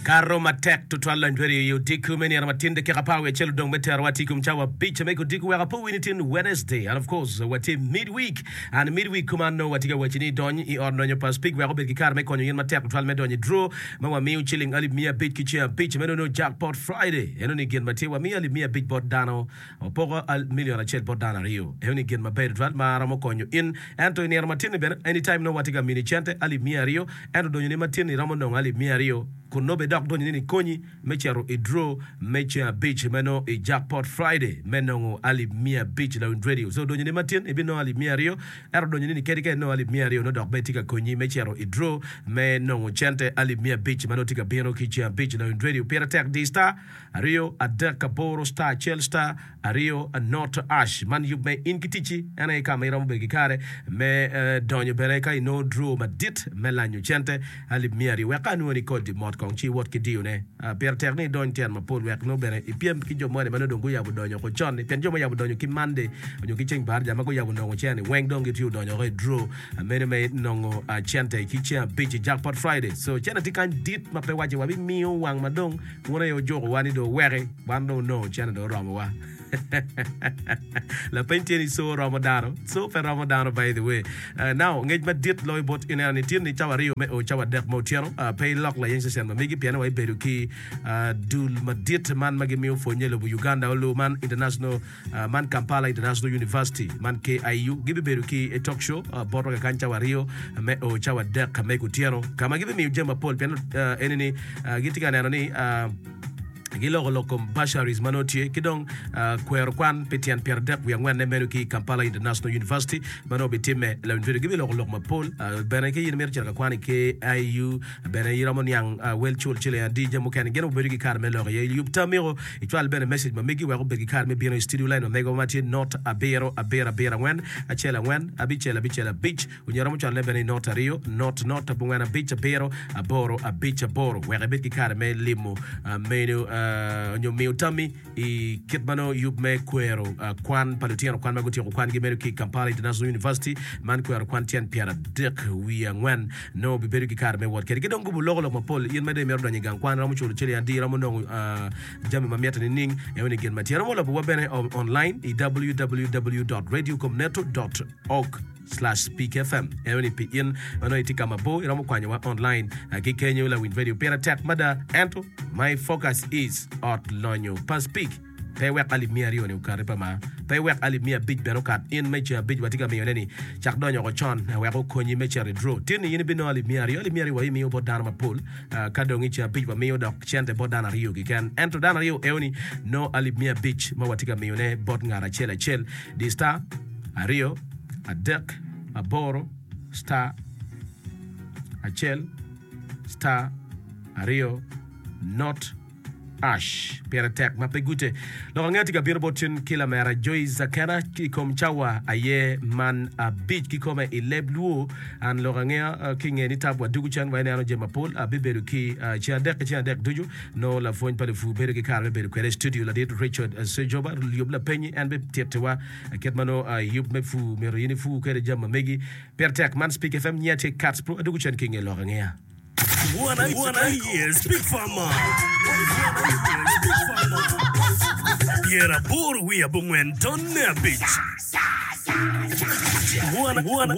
Kato matek tutwal lony bedo i odiko me nino matin dakika apar wiye acel odong me terowa tye i kom cawa abic me kodiko wek apo wi ni tin Wednesday and of course watye mid week and mid week kuman nongo watye ka waci ni dony i ot lonyo pa Speke wek obed ki kare me konyo in matek tutwal me donyo i draw ma wamiyo ciling alip miya abic ki ceng abic meno nongo jackpot Friday eno ni gin ma tye wamiyo alip miya abic bot dano Wapoko milion acel bot dano aryo. Eno-ni gin maber tutwal ma romo konyo in. Ento i nino matin-ni bene, anytime nongo watye ka mini cente alip miya aryo, ento donyoni matin-ni romo nongo alip miya aryo, kun nongo bene dok donyoni ni konyi me cito i draw me ceng abic ma nongo i Jackpot Friday me nongo alip miya abic lawiny radio. So donyoni matin ibinongo alip miya aryo, ento donyoni ni kadi ka inongo alip miya aryo nongo dok bene tye ka konyi me cito i draw me nongo cente alip miya abic ma nongo tye ka bino ki ceng abic lawiny radio. Pire tek di star. Aryo, adek, aboro, star, acel, star, aryo, not, ash. Man yub me in ki ticci en aye ka ma iromo bedo ki kare me donyo bene ka inongo draw madit me lanyo cente alip miya aryo. Wek ka anwoni kodi mot kong ci iwot ki diyone. Pire tek ni idony tyen mapol wek nongo bene ipyem ki jo moni ma nongo dong guyabo donyo oko con-ni. Pien jo ma oyabo donyo ki Monday nyo ki ceng baraja ma guyabo nongo cene-ni weng dong gitye odonyo oko i draw meno me nongo cente ki ceng abic i Jackpot Friday. So cene tye kany dit ma pe wace wabimiyo wang ma dong Wun aye wujukowa ni dong wuweki, wan dong wunongo cente dong oromowa. Lapeny tye ni co romo dano? Co pe romo dano by the way. Uh, now, ngec madit loyo bot ineno ni tye ni cawa aryo me o cawa adek ma otyeno, uh, pe ilok layeny cecen ma megi pien wa ibedo ki uh, dul madit man ma gimiyo pwonye i lobo Uganda olu man International Man Kampala International University, man KIU, gibibedo ki i talk show botwa kakany cawa aryo me o cawa adek me kutyeno ka ma gibimiyo jami mapol pien eni ni gitye ka neno ni giloko lok kom bursaries ma nongo tye ki dong kwero kwan pi tyen pyeradek wiye angwenne meno ki i Kampala International University ma nongo bitimme lawiny video gibiloko lok mapol bene ki in imito cito ka kwan i KIU Bene iromo niang wel cul ciling adi jami mukene gin obedo ki kare me lok iye. Yub tamiko icwal bene message ma megi wek obed ki kare me bino i studio line ma megwa ma tye not abiro abiro abiro angwen acel angwen abicel abicel abic onyo iromo cwalone bene i not aryo not not abongwen abic abiro aboro abic aboro wek ibed ki kare me limo menu onyo miyo tammi I kit ma nongo yub me kwero kwan pa lutino kwan ma gutyeko kwangi meno ki i Kampala International University, man kwero kwan tyen pyeradek wiye angwen nongo bibedo ki kare me wot kwede. Ki dong gubo loko lok mapol, in ma dong imito donyo i gang kwan, iromo culo ciling adi, iromo nongo jami ma mitte nining, eno ni gin ma tye. Iromo lobowa bene online i www dot radiocomneto dot org. Slash PKFM eno ni pi in ma nongo itye ka mabor iromo kwanyowa online ki kenyo lawiny radio pire tek mada ento my focus is ot lonyo pa speak pe wek alip miya aryo ni okati pa mar pe wek alip miya abic bene okat in me ceng abic watye ka miyo ne ni cak donyo oko con wek okonyi me cito i draw tin ni in ibinongo alip miya aryo alip miya aryo wa imiyo bot dano mapol ka dong i ceng abic wamiyo dok cente bot dano aryo keken ento dano aryo eo ni nongo alip miya abic ma watye ka miyo ne bot ngat acel acel di star aryo adek, aboro, star, acel, star, aryo, not, ash. Pire tek ma pe gute. Lok ange tye ka bino bot cen ki lamera Joyce Akena i kom cawa aye man abic kikome i leb Luo. An lok angeya ki nge ni tab wadugu cen wa ineno jami mapol. Abibedo ki ceng adek ki ceng adek ducu nongo lapwony pa lupur bedo ki kare me bedo kwede i studio ladit Richard Sejoba yub lapenyi en bitittiwa Kit ma nongo yub me pur myero in ipur kwede jami ma megi. Pire tek man Speak FM nyiya tye Kats Pro adwogo cen ki inge lok angeya. Wan aye Speak Farmer Pyeraboro wiye abongwen tonne abic. Wan.